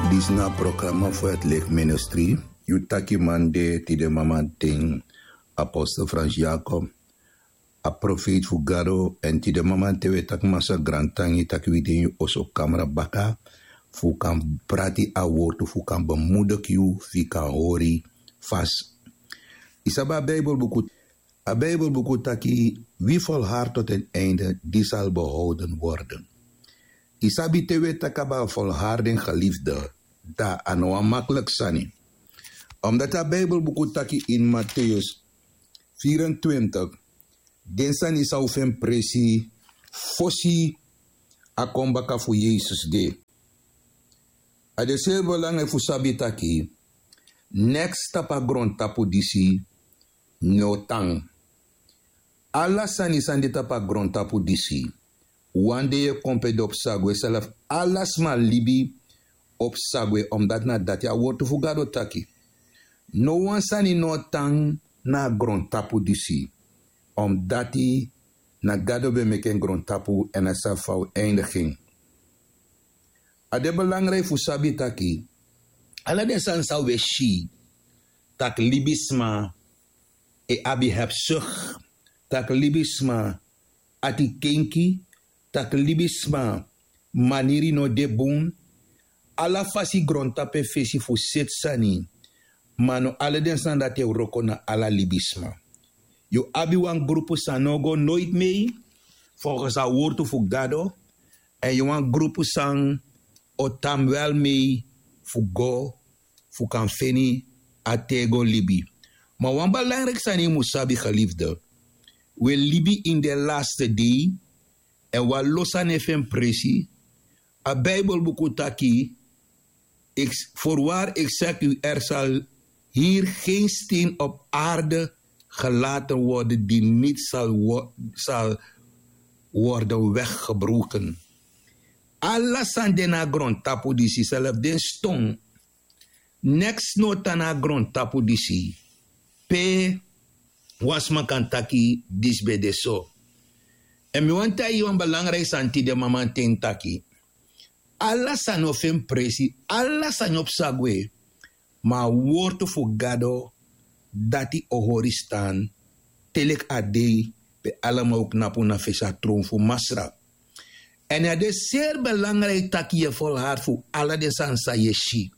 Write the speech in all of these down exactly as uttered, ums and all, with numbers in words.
Disi na a programa fu het licht ministri. Yu taki man de tide mamanten, apostel Frans Jacob, a profeet fu Gado. Èn tide mamanten wi e taki masra grantangi taki wi de ini yu oso kamra baka, fu kan prati a wortu fu kan bemoedig yu fu yu kan hori fasi. Yu sabi a bijbelbuku, a bijbelbuku taki: wie volhard tot een einde, die zal behouden worden. Yu sabi te wi e taki abra volharding geliefde, dan a no wan makliki sani. Omdat a bijbelbuku taki in Mateus vierentwintig, den sani san un fu en presi fosi a kon baka fu Yesus de. A de seri belangrijk fu sabi taki neks tapu a grontapu disi no tan. Ala sani san de tapu a grontapu disi, wan dei e kon pe de o psa gwe. Self ala sma libi o psa gwe, omdat na dati a wortu fu Gado taki. No wan sani no tan na a grontapu disi, omdat na Gado ben meki en grontapu èn a sabi fa a o eindigin. A de belangrijk fu sabi taki ala den sani san wi e si, tak' libisma e abi hebsuk, tak' libisma ati kenki, tak' libisma maniri no de bun. Ala fasi grontapu e fesi fu seti sani, ma no ala den sani dati e wroko na ala libisma. Yu abi wan grupu san no o go noiti mei folgens a wortu fu Gado, èn yu wan grupu san o tan wel mei fu go fu kan feni a tego libi. Ma wan belangriki sani yu mus sabi, geliefde, wi e libi ini den laste dei, èn wan lo sani e fu en presi. A bijbelbuku taki: ik, voorwaar, ik zeg u, er zal hier geen steen op aarde gelaten worden die niet zal, wo- zal worden weggebroken. Ala sani de na a grontapu disi, self den ston, neks no tan na a grontapu disi pe wan sma kan taki disi ben de so. Èn mi wani taigi yu wan belangriki sani tide mamanten taki ala sani o fu en presi, ala sani o psa gwe, ma a wortu fu Gado, dati o hori stan te leki a dei pe alama o knapu na fesi a tron fu Masra. Èn a de seri belangriki taki yu e volhard fu ala den sani san yu e si.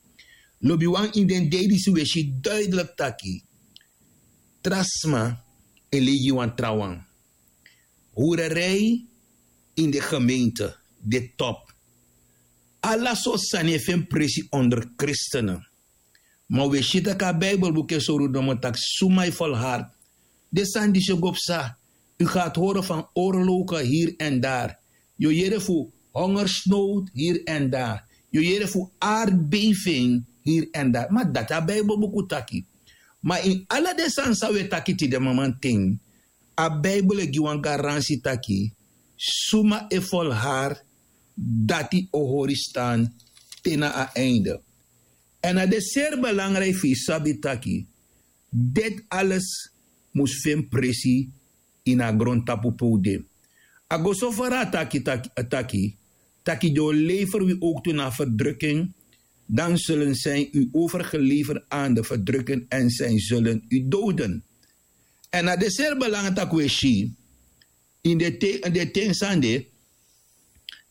Lobiwan, ini den dei disi wi e si duidelik taki tra sma e lei gi wan trawan. Hurerei ini de gemeente de top. Ala sortu sani e fu en presi onder kristenen. Ma wi e si tak' a bijbelbuku e sori un nomo tak' suma e volhard, den sani disi o go psa. U gaat horen van oorlogen hier en daar. Yu o yere fu hongersnood hier en daar. Yu o yere fu aardbeving hier en daar. Ma dati a bijbelbuku taki. Ma ini ala den sani san wi e taki tide mamanten, a bijbel e gi wan garansi taki suma e volhard, dati o hori stan te na a einde. Èn a de seri belangriki fu yu sabi taki deti ales mus fu en presi ini a grontapu pe un de. A go so fara a taki, taki, taki, taki den o lever wi ook toe na verdrukking, dan zullen zij u overgeleverd aan de verdrukken en zij zullen u doden. Èn a de seri belangriki tak' wi e si ini den ten san de,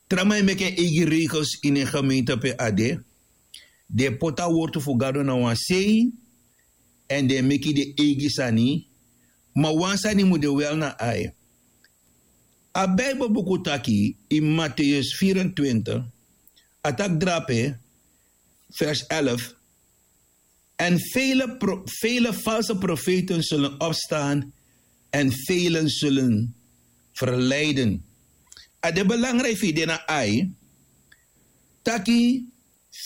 tra man e meki en eigi regels ini en gemeente pe a de. Den e poti a wortu fu Gado na wan sei, èn den e meki den eigi sani. Ma wan sani mus de wel na ai. A bijbelbuku taki ini Mateus vierentwintig, a taki drape, vers elf: en vele, pro- vele valse profeten zullen opstaan en velen zullen verleiden. A de belangriki fu yu de na ai, taki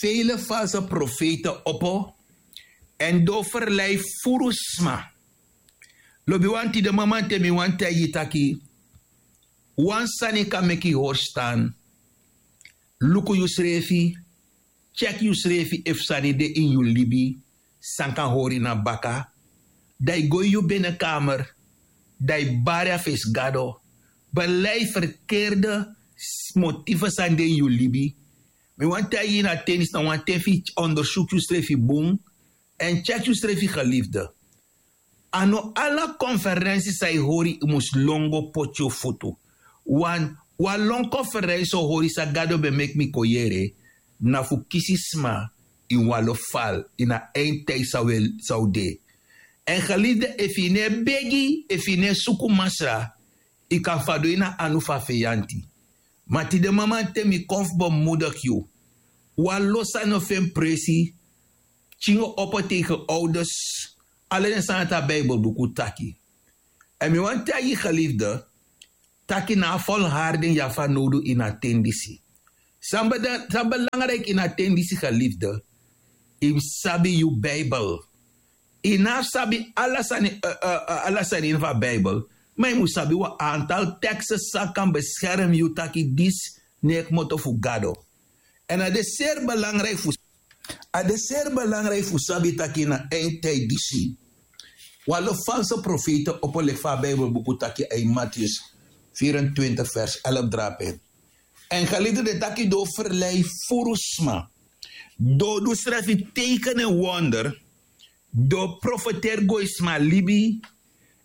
vele valse profeten opo èn den o verlei furu sma. Lobiwan, tide mamanten mi wani taigi yu taki wan sani kan meki yu hori stan. Luku yusrefi, tyeki yusrefi efu sani de ini yu libi san kan hori na baka. Dan yu go ini yu benekamer, dan yu bari a fesi Gado, belei ferkerde motifu san de ini yu libi. Mi wani taigi yu na ten disi na wan ten fu yu ondersuku yusrefi bun. Èn tyeki yusrefi gelifde. A no ala konferensi san yu hori yu mus lon go poti yu futu. Wan wan lon konferensi o hori san gado ben meki mi kon yere, na fu kisi sma ini wan lo fal ini a eindtidi san wi de. Èn gelifde, efu yu no e begi, efu yu no e suku masra, yu kan fadon ini a anu fu a feyanti. Ma tide mamanten mi kon fu bemudigi yu. Wan lo sani o feni presi. Pikin o opo tegen ouders. Ala den sani dati a bibelbuku taki. Èn mi wani taigi yu gelifde, taki na a folharding yu abi fanowdu ini a ten disi. San belangriki ini a ten disi gelifde, yu mus sabi yu bibel. Yu no abi sabi ala sani ini fu a bibel, ma yu mus sabi wan antal teksten san kan beskermi yu taki disi no e kmoto fu gado. Èn a de seri belangriki fu a de seri belangriki fu sabi taki na eindtidi disi wan lo false profeiti opo leki fa a bibelbuku taki a ini matius vierentwintig vers elf drape. Èn gelifde, den taki den o ferlei furu sma, den o du srefi teken èn wonder, den o profeteri go ini sma libi.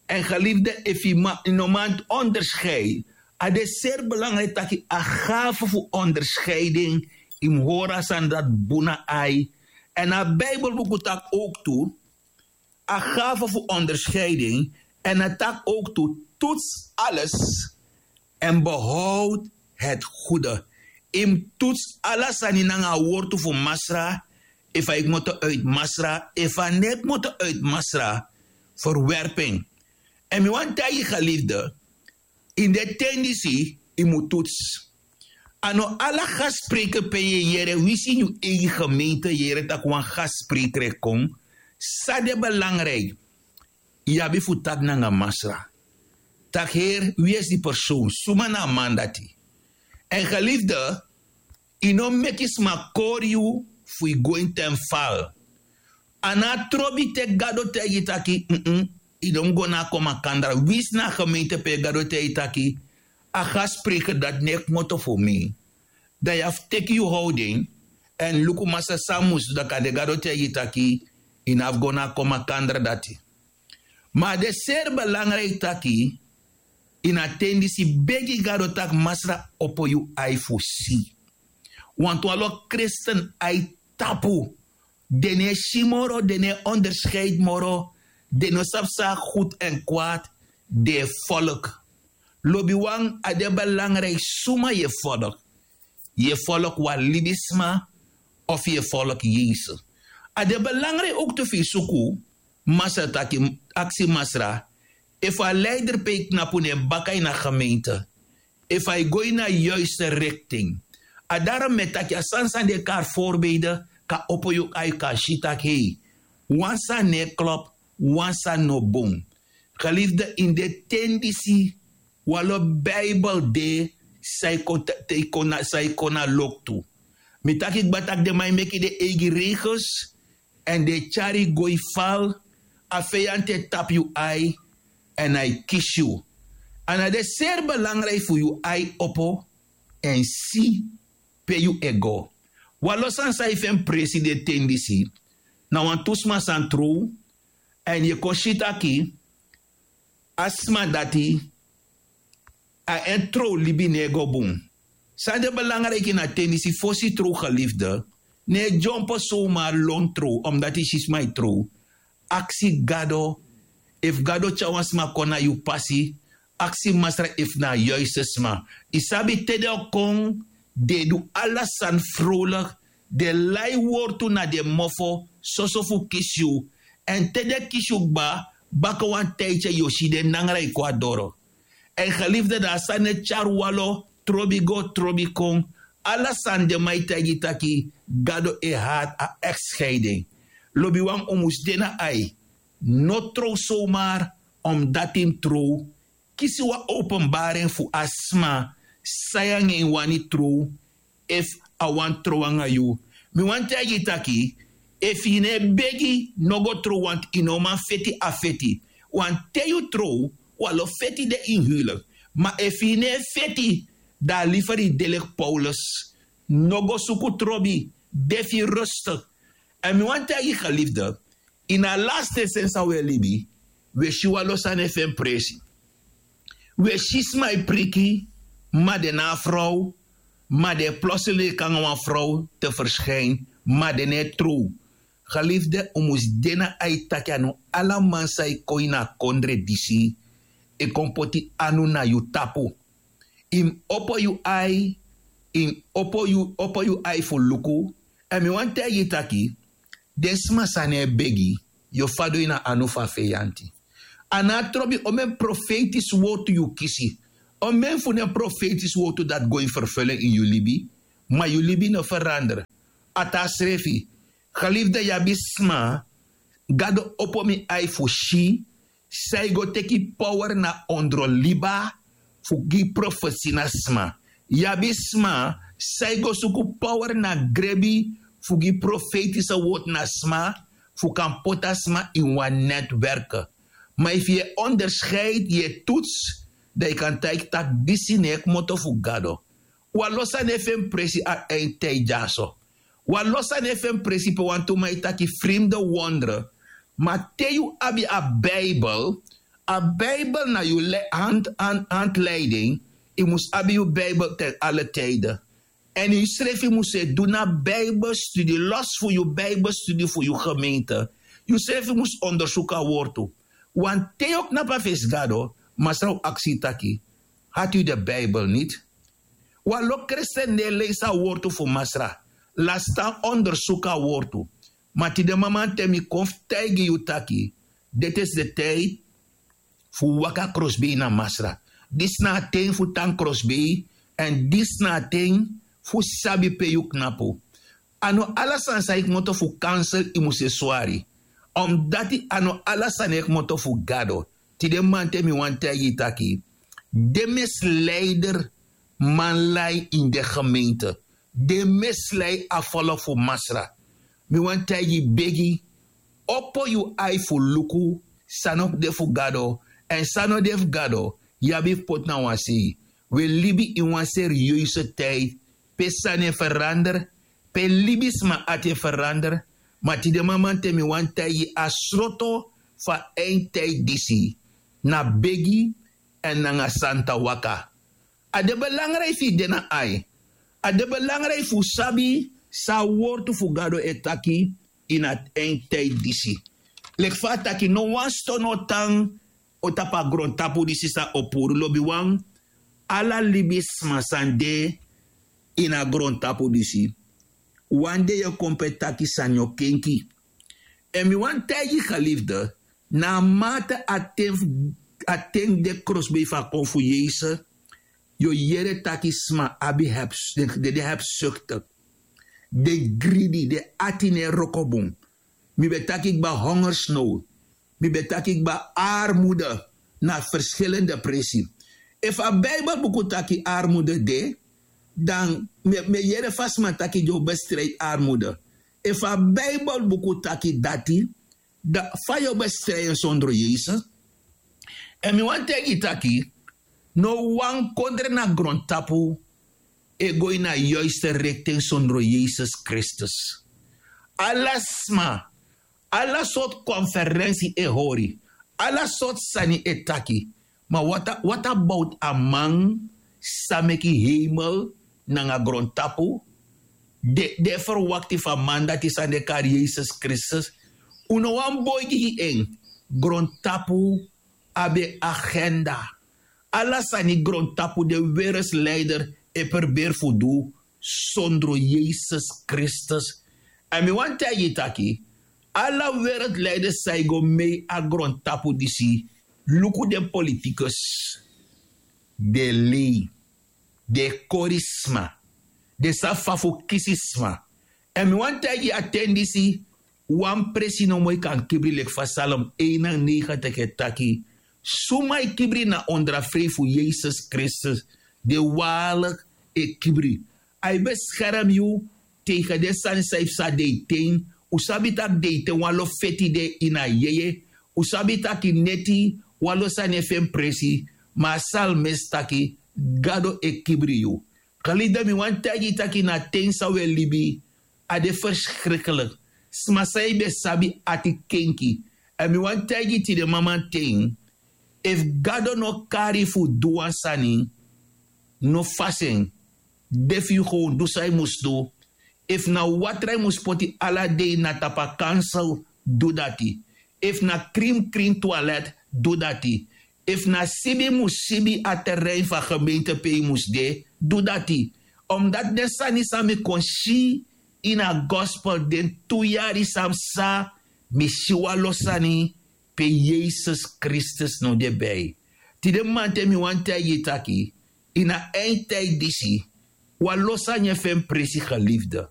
Èn gelifde, efu yu no man onderscheidi, a de seri belangriki taki a gafe fu onderscheiding yu mus hori a sani dati bun na ai. Èn a bibelbuku taki owktu a gafe fu onderscheiding, èn a taki owktu toets alles en behoud het goede. Yu mus toets ala sani nanga a wortu fu masra, efu a e kmoto uit masra, efu a no e kmoto uit masra. Verwerping. Èn mi wani taigi yu gelifde, ini den ten disi yu mus toets. A no ala gaspreker pe yu e yere, winsi ini yu eigi gemeente yu e yere tak' wan gaspreker e kon, san de belangriki, yu abi fu taki nanga masra, tak' heri, wi esi di persoon, suma na a man dati. Èn gelifde, yu no meki sma kori yu fu yu go ini ten fal. A no a trobi te gado taigi yu taki, yu no mus go na a komakandra, winsi na a gemeente pe gado taigi yu taki a gaspreker dati no e kmoto fu mi, dan yu abi fu teki yu howding èn luku masra san a mus du, dan kande gado taigi yu taki yu no abi go na a komakandra dati. Ma a de seri belangriki taki ini a ten disi begi gado tak' masra opo yu ai fu si. Wantu wan lo kristen ai tapu. Den no e si moro, den no e onderscheidi moro. Den no sabi san a gudu èn kwad. Den e folku. Lobiwan, a de belangriki suma yu e folku. Yu e folku wan libisma of yu e folku yesus? A de belangriki owktu fu yu suku masra taki, aksi masra efu a leider pe yu knapu na en baka ini a gemeente, efu a e go ini a yuiste rikting. A darom mi e taki a sani san den e kari voorbeelden kan opo yu ai, kan si tak' hei, wan sani no e klop, wan sani no bun. Geliefde, ini den ten disi wan lo bibel de san e kon na loktu. Mi taki kba tak' den man e meki den eigi regels èn den e tyari yu go ini fal. A feyanti e tapu yu ai èn a e kisi yu. A na den seri belangriki fu yu ai opo èn si pe yu e go. Wan lo sani san e feni presi den ten disi, na wantu sma san trow èn yu e kon si taki a sma dati a en trowlibi no e go bun. San de belangriki na ten disi, fosi yu trow geliefde, no e dyompo somar lon trow omdati yu si sma e trow. Aksi gado efu gado tyari wan sma kon na yu pasi. Aksi masra efu na a yuiste sma. Yu sabi te den o kon, den e du ala sani frowlik. Den lai wortu na den mofo soso fu kisi yu. Èn te den kisi yu kba, baka wan tijtye yu o si den nangra e kon na doro. Èn geliefde, dan a sani e tyari wan lo trobi go trobi kon. Ala sani den man e taigi yu taki gado e hati a ex-scheiding. Lobiwan, un mus de na ai. No trow somar omdati yu mus trow. Kisi wan openbaring fu a sma san yu nanga en wani trow, efu a wani trow nanga yu. Mi wani taigi yu taki, efu yu no e begi, no go trow, want yu no man feti a feti. Want te yu trow, wan lo feti de ini huwelijk. Ma efu yu no e feti, dan a liever yu de leki Paulus. No go suku trobi. De fu yu rustik. Èn mi wani taigi yu, gelifde, ini a laste seni san wi e libi, wi e si wan lo sani e feni presi. Wi e si sma e priki, ma den na a frow, ma den e plosili leki nanga wan frow te ferskin, ma den no e trow. Gelifde, un mus de na ai taki a no ala man san e kon ini a kondre disi e kon poti anu na yu tapu. Yu mus opo yu ai, yu mus opo yu opo yu ai fu luku. Èn mi wani taigi yu taki, den sma san no e begi, yu o fadon ini a anu fu a feyanti. A no a trobi omeni profeitisi wortu yu kisi. Omeni fu den profeitisi wortu dati go ini ferfelen ini yu libi, ma yu libi no ferander. A tan srefi, gelifde, yu abi sma, Gado opo mi ai fu si san e go teki power na ondro liba fu gi profesi na sma. Yu abi sma san e go suku power na grebi fu gi profeitisi wortu na sma, fu kan poti a sma ini wan netwerk. Ma efu yu e onderscheidi, yu e tutsi, dan yu kan taigi tak' disi no e kmoto fu Gado. Wan lo sani e feni presi a eindtijd dyaso. Wan lo sani e feni presi pe wantu man e taki frimde wondre. Ma te yu abi a Bijbel, a Bijbel na yu handleiding. Yu mus abi yu Bijbel ten alle tijden. Èn yusrefi mus e du na Bijbelstudie los fu yu Bijbelstudie fu yu gemeente. Yusrefi mus ondersuku a wortu. Want te yu o knapu a fesi Gado, Masra o aksi yu taki: Had u de Bijbel niet? Wan lo kresten no e leisi a wortu fu Masra. Lasi tan ondersuku a wortu. Ma tide mamanten mi kon fu taigi yu taki, deti esi de tijdi fu waka krosbei na Masra. Disi na a ten fu tan krosbei, èn disi na a ten fu sabi pe yu knapu. A no ala sani san e kmoto fu kansel yu mus e swari. Omdati a no ala sani e kmoto fu Gado. Tide mamanten mi wani taigi yu taki, den misleider man lai ini den gemeente. Den misleider a folku fu Masra. Mi wani taigi yu, begi, opo yu ai fu luku san no de fu Gado, èn san no de fu Gado yu abi fu poti na wan sei. Wi e libi ini wan serieuze tijdi pe sani e ferander, pe libisma ati e ferander. Ma tide mamanten mi wani taigi yu, a sroto fu a eindtijd disi na begi èn nanga santa waka. A de belangrijk fu yu de na ai. A de belangrijk fu sabi san a wortu fu Gado e taki ini a eindtijd disi. Leki fa a taki, no wan ston no tan o tapu a grontapu disi san o puru lobiwan. Ala libisma san de ini a grontapu disi, wan dei yu o kon pe taki sani o kenki. Èn mi wani taigi yu, gelifde, na a mate a ten de krosbei fu a kon fu Yesus, yu o yere taki sma abi, den de hebsuktik, den gridi, den ati no e wroko bun. Mi ben taki kba hongersnow. Mi ben taki kba armude na ferskilende presi. Efu a Bijbelbuku taki armude de, dan mi e yere fa sma taki den o bestrijd armude. Efu a Bijbelbuku taki dati, dan fa yu o bestrijd en sondro Yesus? Èn mi wani taigi yu taki, no wan kondre na grontapu e go ini a yuiste rikten sondro Yesus Kristus. Ala sma, ala sortu konferensi e hori, ala sortu sani e taki. Ma wat about a man san meki heimel nanga grontapu? Den e ferwakti fu a man dati san den e kari Yesus Kristus. Un no wani boi gi gi en. Grontapu abi en agenda. Ala sani grontapu den wereldleider e perberi fu du sondro Yesus Kristus. Èn mi wani taigi yu taki, ala wereldleider san e go mei a grontapu disi, luku den politikus, den e lei, den e kori sma, den sabi fa fu kisi sma. Èn mi wani taigi yu, a ten disi, wan presi nomo e kan kibri, leki fa Psalm eenennegentig e taki. Suma e kibri na ondro a frei fu Yesus Kristus, den walik e kibri. A e beskerm yu tegen den sani san e psa deiten. Un sabi tak' deiten wan lo feti de ini a yeye. Un sabi tak' neti wan lo sani e feni presi. Ma a psalmist taki, Gado e kibri yu. Gelifde, mi wani taigi yu taki na a ten san un e libi, a de ferskriklik. Sma san yu ben sabi ati kenki. Èn mi wani taigi yu tide mamanten, efu Gado no kari yu fu du wan sani, no fasi en. De fu yu, gewoon du san yu mus du. Efu na watra yu mus poti ala dei na tapu a kansel, du dati. Efu na krimkrim twalet, du dati. Efu na sibi yu mus sibi a terrein fu a gemeente pe yu mus de, du dati. Omdati den sani san mi kon si ini a gospel den tu yari san mi psa, mi si wan lo sani pe Yesus Kristus no de bij. Tide mamanten mi wani taigi yu taki, ini a eindtijd disi, wan lo sani e feni presi, gelifde.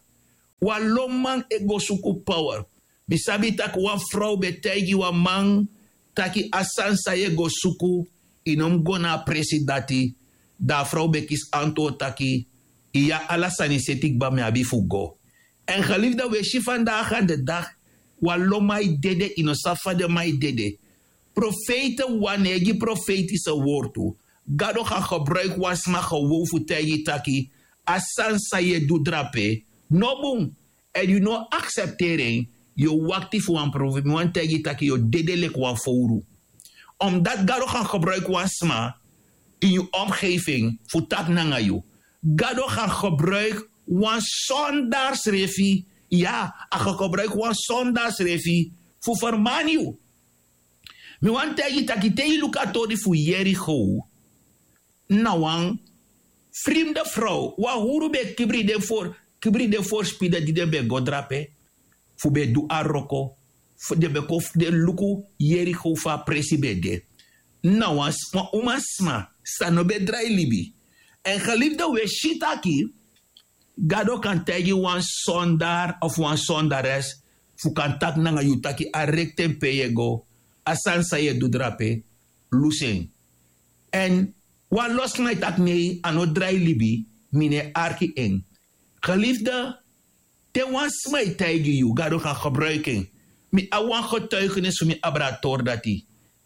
Wan lo man e go suku power. Mi sabi taki wan frow ben taigi wan man taki a sani san yu e go suku, yu no mus go na a presi dati. Dan a frow ben kisi antwoord taki, iya, ala sani seti kba, mi abi fu go. Èn gelifde, un e si vandaag aan de dag, wan lo man e dede, yu no sabi fa den man e dede. Profeiti wan e gi profeitise wortu. Gado kan gebruiki wan sma gewoon fu taigi yu taki, a sani san yu e du drape no bun. Èn yu no aksepteri en, yu o wakti fu wan profi. Mi wani taigi yu taki yu o dede leki wan fowru. Omdati Gado kan gebruiki wan sma ini yu omgeving fu taki nanga yu. Gado kan gebruiki wan sondar srefi. Ya, a kan gebruiki wan sondar srefi fu fermani yu. Mi wani taigi yu taki te yu luku a tori fu Yerigo, na wan frimde frow, wan huru ben kibri den for, kibri den forspide di den ben go drape, fu ben du a wroko, fu den ben kon fu den luku Yerigo fa a presi ben de. Na wan s-, wan umasma san no ben drai libi. Èn gelifde, un e si taki Gado kan taigi wan sondar of wan sondares fu kan taki nanga yu taki a rekten pe yu e go, a sani san yu e du drape, lusu en. Èn wan lo sma e taki nei, a no drai libi, mi no e arki en. Gelifde, te wan sma e taigi yu, Gado kan gebruiki en. Mi abi wan getuigenis fu mi abra a tori dati.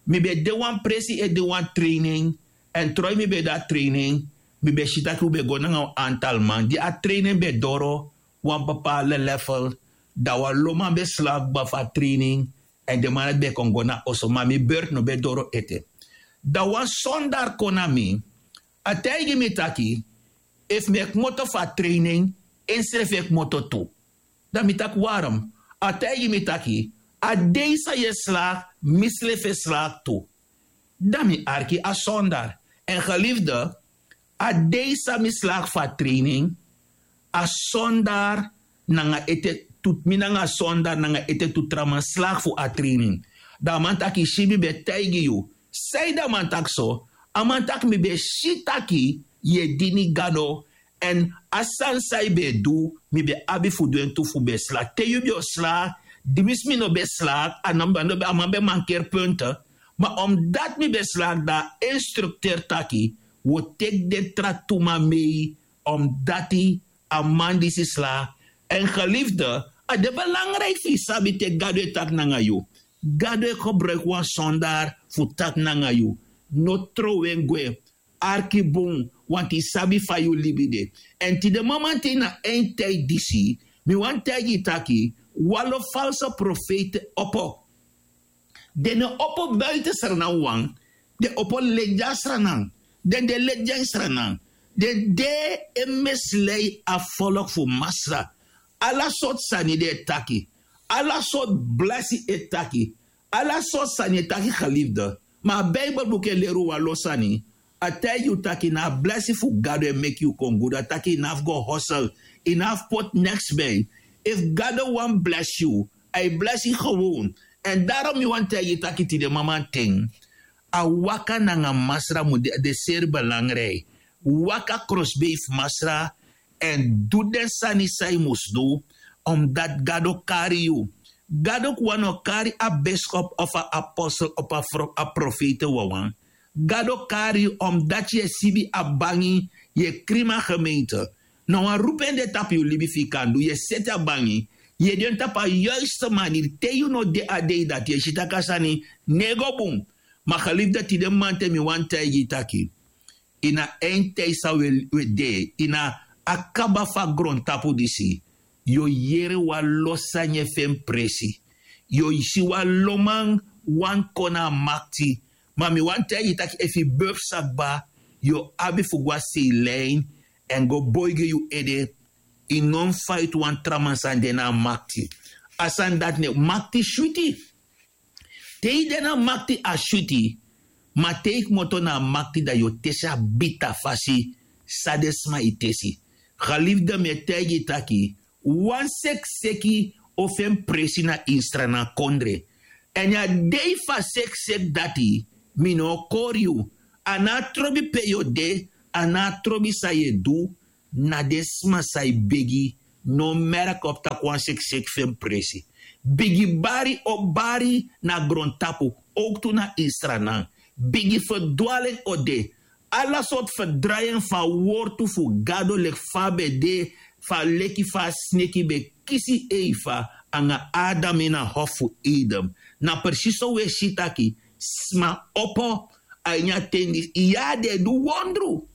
Mi ben de wan presi e du wan training, èn troi mi ben de a training, mi ben si taki un ben go nanga wan antal man. Di a training ben doro wan bepaalde level, dan wan lo man ben slaap kba fu a training, èn den man dati ben kon go na oso, ma mi beurt no ben doro ete. Dan wan sondar kon na mi, a taigi mi taki, efu mi e kmoto fu a training, ensrefi e kmoto tu. Dan mi taki: "Waarom?" A taigi mi taki: "A dei san yu e slaag, mislefi e slaag tu." Dan mi arki a sondar. Èn geliefde, a dei san mi slaag fu a training, a sondar nanga ete tu, mi nanga a sondar nanga ete tu tra man slaag fu a training. Dan a man taki: "Si, mi ben taigi yu." Sanede a man taki so? A man taki: "Mi ben si taki yu e dini Gado, èn a sani san yu ben du, mi ben abi fu du en tu fu ben slaag. Te yu ben o slaag, di mi si mi no ben slaag, a no, a no, a man ben mankeri punte. Ma omdati mi ben slaag, dan a instructeur taki wi o teki den tra tu man mee, omdati a man disi slaag." Èn geliefde, a de belangrijk fu yu sabi te Gado e taki nanga yu. Gado e gebruik wan sondar fu taki nanga yu. No trow en gwe. Arki bun, want yu sabi fa yu libi de. Èn tide mamanten na eindtijd disi, mi wani taigi yu taki wan lo false profeet e opo. Den no e opo buiten Sranan wawan, den e opo leti a Sranan. Den de leti a Sranan. Den de e mislei a volk fu Masra. Ala sortu sani den e taki. Ala sortu blesi e taki. Ala sortu sani e taki, geliefde. Ma a Bijbelboek e leri wan lo sani. A taigi yu taki na a blesi fu Gado e meki yu kon gudu. A taki yu no abi fu go hosel. Yu no abi fu poti neks bij. Efu Gado wani blesi yu, a e blesi yu gewoon. Èn daarom mi wani taigi yu taki tide mamanten, a waka nanga Masra mu de, de seri belangrijk. Waka krosbei fu Masra, èn du den sani san yu mus du, omdati Gado kari yu. Gado kwan no kari a biskop of a apostel of a fro-, a profeet wawan. Gado kari yu omdati yu e sibi a bangi, yu e krimi a gemeente. Na wan roeping de tapu yu libi fu yu kan du, yu e seti a bangi, yu e de tapu a juiste manier. Te yu no de a dei dati, yu e si taki a sani no e go bun. Ma geliefde, tide mamanten mi wani taigi yu taki Ini a eindtij san wi e de ini a kaba fu a grontapu disi, yu o yere wan lo sani e fu en presi. Yu o si wan lo man wani kon na a makti. Ma mi wani taigi yu tak' efu yu befu sa kba, yu o abi fu go na seilein èn go boi gi yu ede. Yu no mus faiti wan tra man san de na a makti. A sani dati ne makti switi. Te yu de na makti a switi. Ma te yu kmoto na a makti dan yu o tesi a bita fasi san den sma e tesi. Galifde mi e taigi yu taki wan sekiseki o fu en presi na instra na kondre. Èn a dei fu a sekiseki dati mi no o kori yu. A no a trobi pe yu o de. A no a trobi san yu e du. Na den sma san e begi. No merki opu tak' wan sekiseki fu en presi. Bigi bari o bari na grontapu. Owktu na instranan bigi ferdwalen o de. Ala sortu ferdrayen fu a wortu fu gado leki fa a ben de fu a leki fa a sneki ben kisi eifa nanga adam ini a hofu fu edem. Na presiso un e si taki sma opo a ini a ten disi ya den e du wondru.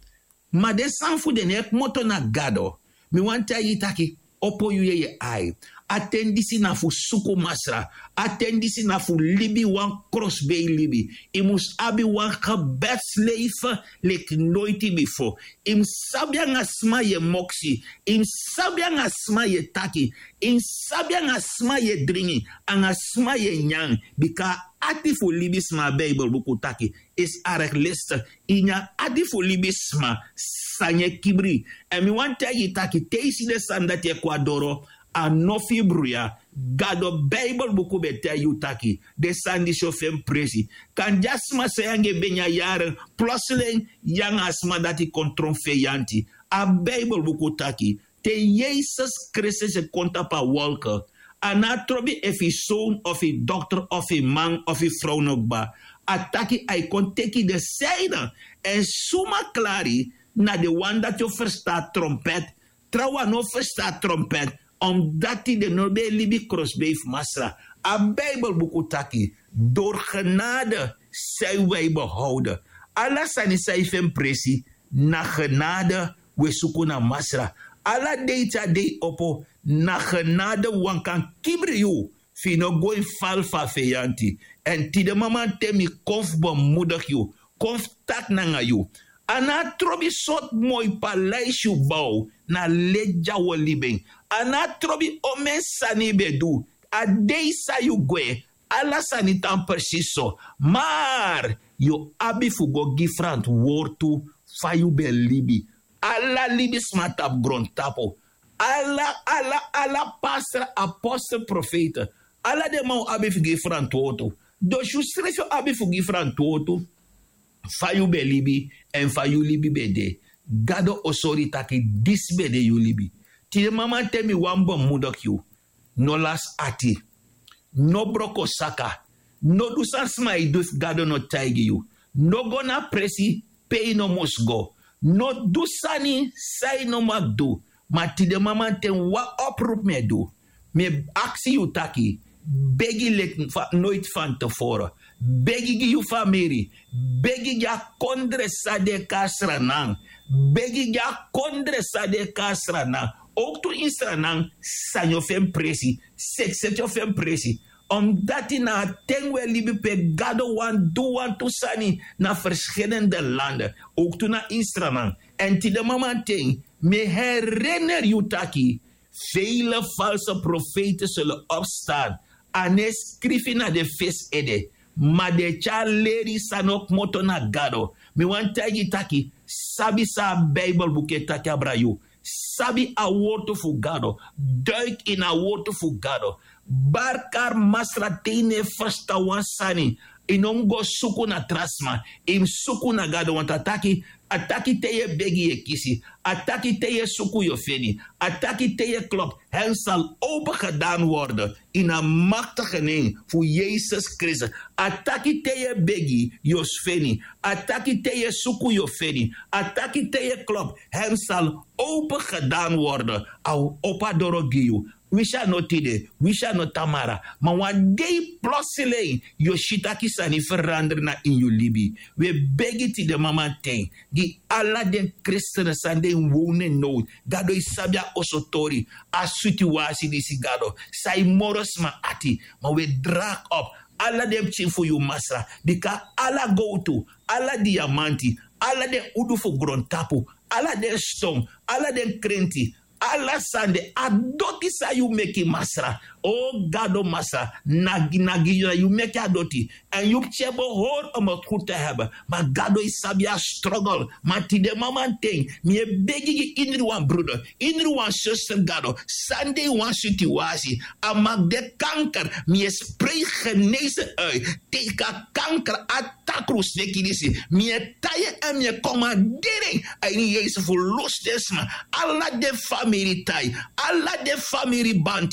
Ma den sani fu den no e kmoto na gado. Mi wani taigi yu taki opo yu yeye ai. A ten disi na fu suku masra. A ten disi na fu libi wan krosbei libi. Yu mus abi wan gebetsleife leki noiti bifo. Yu mus sabi nanga sma yu e moksi. Yu mus sabi nanga sma yu e taki. Yu mus sabi nanga sma yu e dringi nanga sma yu e nyan. Bika a ati fu libisma a beibelbuku taki isi arek leste. Ini a ati fu libisma sani e kibri. Èn mi wani taigi yu taki te yu si den sani dati e kon na doro, a no fu yu bruya. Gado beibelbuku ben taigi yu taki den sani disi o fu en presi. Kande a sma san yu anga en ben nyan yaren plosling yu anga a sma dati kon tron feyanti. A beibelbuku taki te yesus kristus e kon tapu a wolke, a no a trobi efu yu sown of yu dokter of yu man of yu frow no kba. A taki a e kon teki den seine. Èn suma klari na den wan dati o ferstan a trompet. Trawan no ferstan a trompet. Omdati den no ben e libi krosbei fu masra. A beibelbuku taki dori genade san yu wi e behowde. Ala sani san yu fu en presi na genade. Wi e suku na masra ala dei te a dei opo. Na genade wan kan kibri yu fu yu no go ini fal fu a feyanti. Èn tide mamanten mi kon fu bemudigi yu, kon fu taki nanga yu. A no a trobi sortu moi palaisi yu bow na leti di a wi o libi en. A no a trobi omeni sani yu ben du. A dei san yu gwe ala sani tan presisi so. Mar yu o abi fu go gi frantwortu fa yu ben libi. Ala libisma tapu grontapu, ala ala ala pastra apostel profeite, ala den man o abi fu gi frantwortu. Dus yu srefi o abi fu gi frantwortu fa yu ben libi èn fa yu libi ben de. Gado o sori yu taki disi ben de yu libi. Tide mamanten mi wani bemudigi yu. No lasi ati. No broko saka. No du san sma e du efu gado no taigi yu. No go na presi pe yu no mus go. No du sani san yu no mag du. Ma tide mamanten wan oprupu mi e du. Mi e aksi yu taki begi leki noiti fanteforo. Begi gi yu famiri. Begi gi a kondre san de kasranan. Begi gi a kondre san de kasranan. Owktu instranan sani o fu en presi. Sekseti o fu en presi. Omdati na a ten wi e libi pe gado wani du wantu sani na ferskilende lande. Owktu na instranan. Èn tide mamanten mi e hereneri yu taki feile false profeite sulu opstan. A no e skrifi na den fesi ede. Ma den e tyari leri san no kmoto na gado. Mi wani taigi yu taki sabi san a bibelbuku e taki abra yu. Sabi a wortu fu gado. Duiki ini a wortu fu gado. Barkari masra te yu no e ferstan wan sani, yu no mus go suku na tra sma. Yu mus suku na gado wantu a taki a taki te yu e begi yu e kisi. A taki te yu e suku yu o feni. A taki te yu e klop, hen sal open gedan worden. Ini a maktige nen fu yesus kristus. A taki te yu e begi yu o feni. A taki te yu e suku yu o feni. A taki te yu e klop, hen sal open gedan worden. A o opo a doro gi yu. Wisi a no tide, wisi a no tamara, ma wan dei plosilen yu o si taki sani ferandri na ini yu libi. Wi e begi tide mamanten gi ala den kristene san den wownen now. Gado e sabi a oso tori, a situasi disi gado san e moro sma ati. Ma wi e drak op ala den pikin fu yu masra, bika ala gowtu, ala diamanti, ala den udu fu grontapu, ala den ston, ala den krenti, ala sani de a doti san yu meki masra. O gado masra, nagi nagi na yu meki a doti. Èn yu pikin e behori om a gudu te heben. Ma gado e sabi a strogel. Ma tide mamanten mi e begi gi indri wan bruder, indri wan suster gado, san de wan situasi, a maki de kanker, mi e sprei genese uit. Teki a kanker a takru sneki disi, mi e tai en èn mi e komanderi en a ini yesus fu lusu den sma. Ala den famiri tai, ala den famiri band,